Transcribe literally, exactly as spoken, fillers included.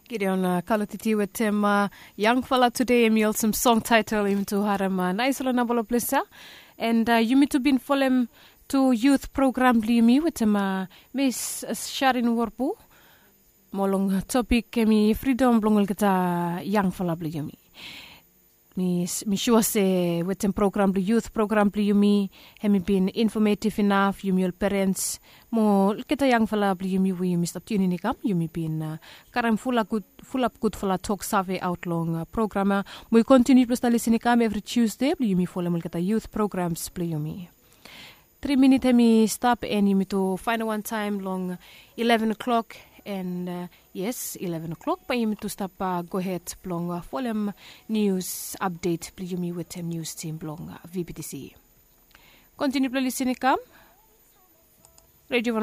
Gideon kalotiti wetem yangfala tude, em i olsem song taetel yumi tu harem naispela nambala ples ya. And yumi tu bin folem tu yut program blong yumi wetem mis sharin worbu, mo long topik em i fridom blong olgeta yangfala blong yumi. Mi sua se wetem program blong yut program blong yumi, em i bin infometiv inaf yumi ol perens mo olgeta yangfala blong yumi we yumi stap tiunin i kam, yumi bin karem fulap gudfala tok save aot long program ya. Mo i kontiniu blong stap lisin i kam evri tiusde blong yumi folem olgeta yut programs blong yumi. Tri minit em i stap en yumi tu fainal wantaem long ileven klok. En yes, ileven klok bae yumi tu stap gohed blong folem nius apdet blong yumi wetem nius tim blong vbtc. Kontiniu blong lisin i kam. Redio